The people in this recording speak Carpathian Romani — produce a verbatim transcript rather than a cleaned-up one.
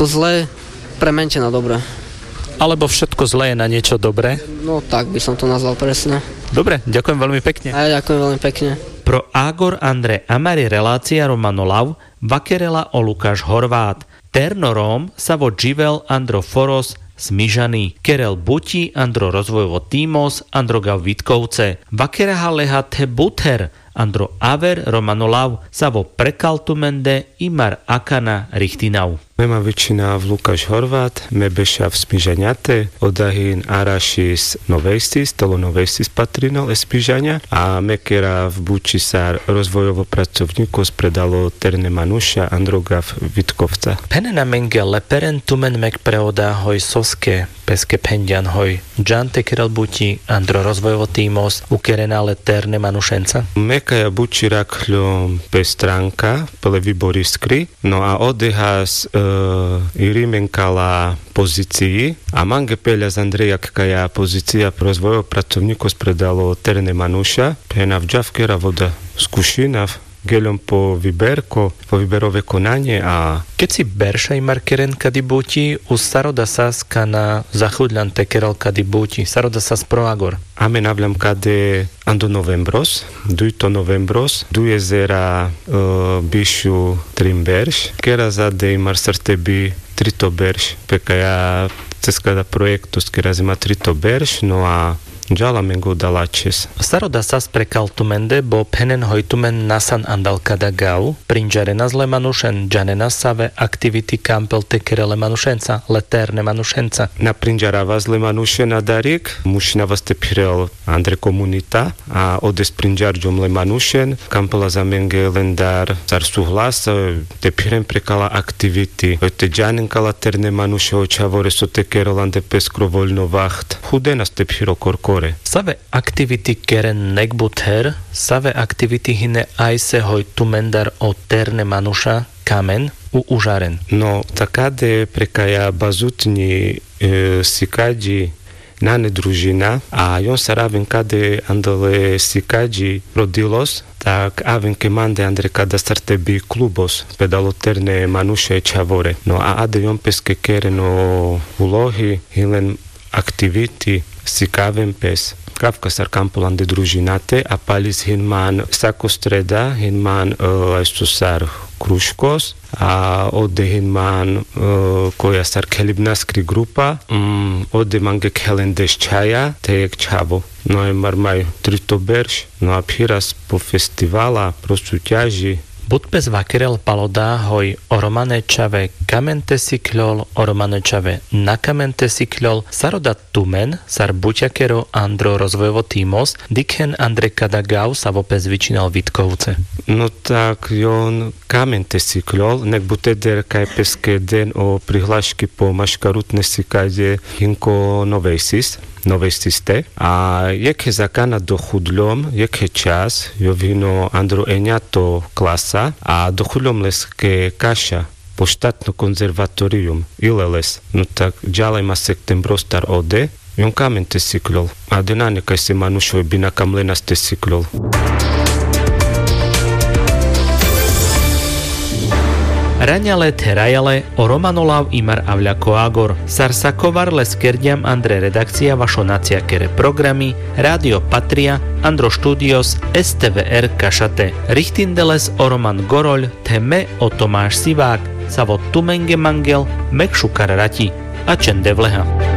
To zlé premente na dobré. Alebo Všetko zlé je na niečo dobré? No tak by som to nazval presne. Dobre, ďakujem veľmi pekne. A ja ďakujem veľmi pekne. Pro Agor andre amari relácia Romano Lav vakerela o Lukáš Horvát. Terno Róm sa vo dživel andro foros Smižany, kerel buti andro rozvojovo tímos andro gav Vitkovce. Vakeraha leha the buther andro aver Romano Lav sa vo prekal tumende imar akana richtinav. Me ma vičinav Lukáš Horvát, me bešav Smižaňate, oda hin arašis Novejsis, telo Novejsis patrinel e Smižaňa, a me kerav buči sar rozvojovo pracovnikos predalo terne manuša andro gav Vitkovca. Phenen amenge le peren tumen mek pre oda hoj soske, peske phenďan hoj, džan te kerel buti andro rozvojovo tímos, ukerena le terne manušenca? Me kaja buči rakhľom pe stranka, pe le Vibor Iskri, no a odehas, e, irimen kala pozicii, a mange peľas andre jak kaja pozicija pre rozvojovo pracovnikos predalo terne manuša, phena džav kerav oda, skušinav, geľom po Viberko, po Viberove konanie a... Ked si berša imar keren kadi buti, u sar oda sas kana zachudľan te kerel kadi buti, sar oda sas pro Agor? Amen avľam kade ando novembros, dujto novembros, dujezera, e, bišu trin berš, kera zade imar sar te bi trito berš, pe kaja cez kada projektos kera zema trito berš, no a džal amenge oda lačhes. Sar oda sas prekal tumende, bo phenen hoj tumen nasan andal kada gav, prinďarenas le manušen, džanenas save aktiviti kampel te kerel le manušenca, le terne manušenca? Na prinďaravas le manušen adarik, mušinavas te phirel andre komunita, a odes prinďarďom le manušen, kampelas amenge lendar sar suhlas, e, te phiren prekala aktiviti, hoj te džanen kala terne manuša o čhavore so te kerel andre peskro voľno vaht, chudenas te phiro korkore. Save aktiviti keren nek buther, save aktiviti hine ajse hoj tumendar o terne manuša kamen u užaren? No, takade pre kaja bazutňi, e, sikaďi nane družina, a jon sar aven kade andal e sikaďi pro dilos, tak aven ke mande andre kada sar te bi klubos, predalo terne manuša e čhavore. No a ade jon peske keren o ulohi, hin len aktiviti, sikaven pes. Kavka sar kampel andre družinate, a palis hin man sako streda, hin man, e, ajso sar kruškos, a ode hin man, e, koja sar khelibnaskri grupa, mm, ode mange khelen deš čhaja, te jekh čhavo. No a mar maj trito berš, no a phiras po festivala, pro suťaži. But pes vakerel pal oda hoj o romane čhave kamen te sikľol, o romane čhave na kamen te sikľol, sar oda tumen, sar buťakero andro rozvojovo tímos, dikhen andre kada gav savo pes vičinal Vitkovce? No tak jon kamen te sikľol, nek but eder kaj peske den o prihlaški po maškarutne sikaďe hin ko Novejsis, Novejsiste. A jekhe zakana dochudľom, jekhe čas, jov hino andro eňato klasa, a dochudľom leske Kaša, po štatno konzervatorium, ile les. No tak džal aj ma sektem brostar ode, jon kamen te sikľol. A de nane kaj se manuš hoj bi na kam lenas te sikľol. Raňale the rajale, o Romano Lav imar avľa ko Agor. Sar sakovar le skerďam andre redakcia vašo naciakere programi, Rádio Patria, andro štúdios STVR Kašate. Richtinde les o Roman Goroľ, the me o Tomáš Sivák, savo tumenge mangel mek šukar rati. A čen devleha.